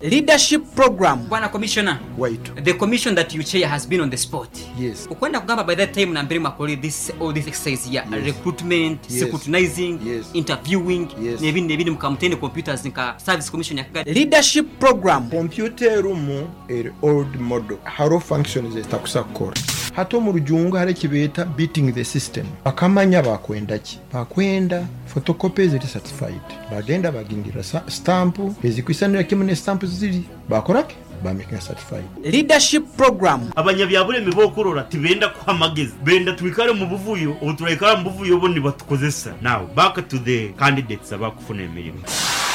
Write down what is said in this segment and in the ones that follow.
Leadership Program. Bwana Commissioner, Waitu. the commission that you chair has been on the spot. Yes. Okwenda kugamba by that time nambere mwakorire this all this exercise ya Yes. recruitment, Yes. scrutinizing, Yes. interviewing Yes. n'ebindi n'ebindi mukaba mutaine computers nka service commission ya Kagadi. Leadership Program. Kompyuta erimu eri old model hariho functions ezitakusa kukora. Hati omu rujungu hariho eki beeta beating the system. Bakamanya bakwenda ki? Bakwenda photocopy eziri certified. Bagenda bagingirira stamp ezikwisanira kimwe ne stamp ziri. Bakora ki? Bamakinga certified. Leadership Program. Abanyabyabulemi b'okurora tibenda kuha magezi, benda twikare omu buvuyo, obu turaikara omu buvuyo bo nibatukozesa. Now back to the candidates abakufuna emirimo.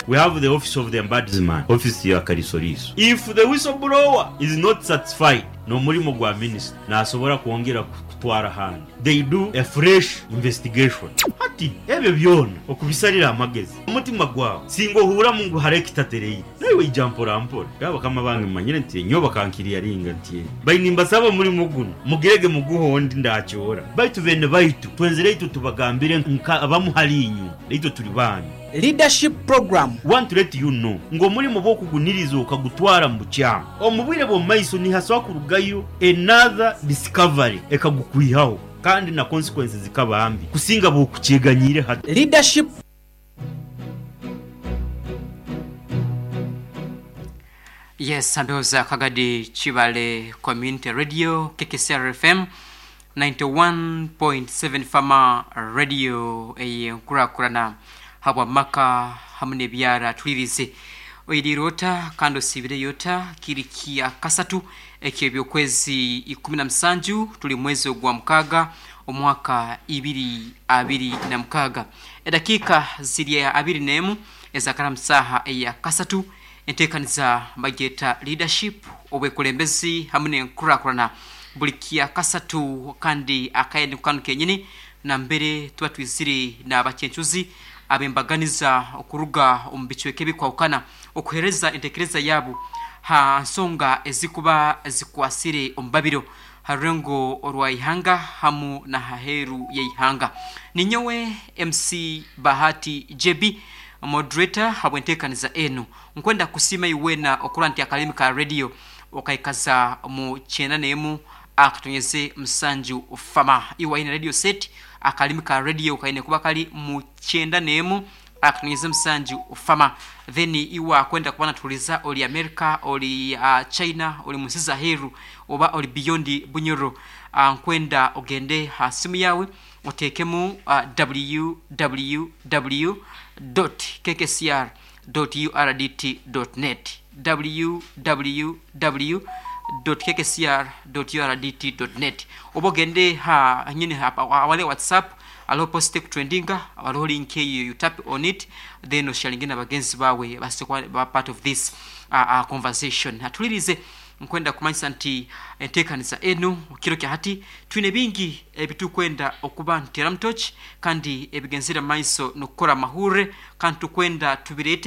We have the office of the ombudsman, office ya kalisoliiso. If the whistle blower is not satisfied n'omurimo gwa minisita, nasobora kwongera kutwara ahandi. They do a fresh investigation. Hati ebyo byona okubisarira amagezi, omutima gwawe singa ohuuramu ngu hariho ekitatereire, naiwe ija mpora mpora. Nyowe bakama bange mumanyire nti nyowe bakankiriyaringa nti bai nimbasaba omurimo gunu mugirege muguhe ondi ndakyoora. Baitu beene baitu twenzire itwe tubagambire nka abamu hali inywe, naitwe turi baanyu. Leadership Program. Want to let you know ngu omurimo bw'okuguniriza okagutwara mu bukyamu, omu bwire bw'omu maiso nihasobola kurugayo another discovery ekagukwihaho kandi na consequences zikaba mbi kusinga bw'okukyeganyiire hati. Leadership. Yes, ndowooza Kagadi Kibale Community Radio, KKCR FM 91.7 Fama Radio ey'enkurakurana habw'amaka hamu n'ebyara tulirize. Oiriire ota kandi osiibireyo ota? Kiri kya kasatu eky'ebyokwezi 17 tuli mwezi ogwa mukaaga omwaka 2026. Edakiika ziri 21 ezakara mu saaha eya kasatu. Enteekaniza bagyeta Leadership, Obwekulembezi hamu n'Enkurakurana buli kyakasatu kandi akaire niko kanu kenyini nambere tuba twizire n'abacencuzi ab'embaganiza okuruga omu bicweka ebikwahukana okuhereza entekereza yabo ha nsonga ezikuba zikwasire omu babiro ha rurengo orwa ihanga hamu na haheru y'eihanga. Ninyowe MC Bahati JB Moderator habw'enteekaniza enu. Nkwenda kusiima iwe weena okurora nti akalimi ka radio okaikaza mu kyenda n'emu akatonyeze musanju fama. Iwe aine radio set, akalimi ka radio kaine kuba kali mu kyenda n'emu akatonyeze musanju fama. Then iwe akwenda kuba natuhuliza ori America, ori China, ori munsi z'aheeru oba ori beyond Bunyoro, nkwenda ogende ha simu yaawe oteekemu www dot kkcr dot urdt dot net, www dot kkcr dot urdt dot net, oba ogende ha nyine awali WhatsApp hariho post ekutrendinga hariho link eyo you tap on it then osharinge na bagenzi baawe baase kuba part of this conversation. Atulirize Nkwenda kumanyisa nti entekaniza enu kiro kya hati twine bingi ebitukwenda okuba nituteeramu tochi kandi ebigenzire mumaiso nokukora amahurre kandi tukwenda tubireete.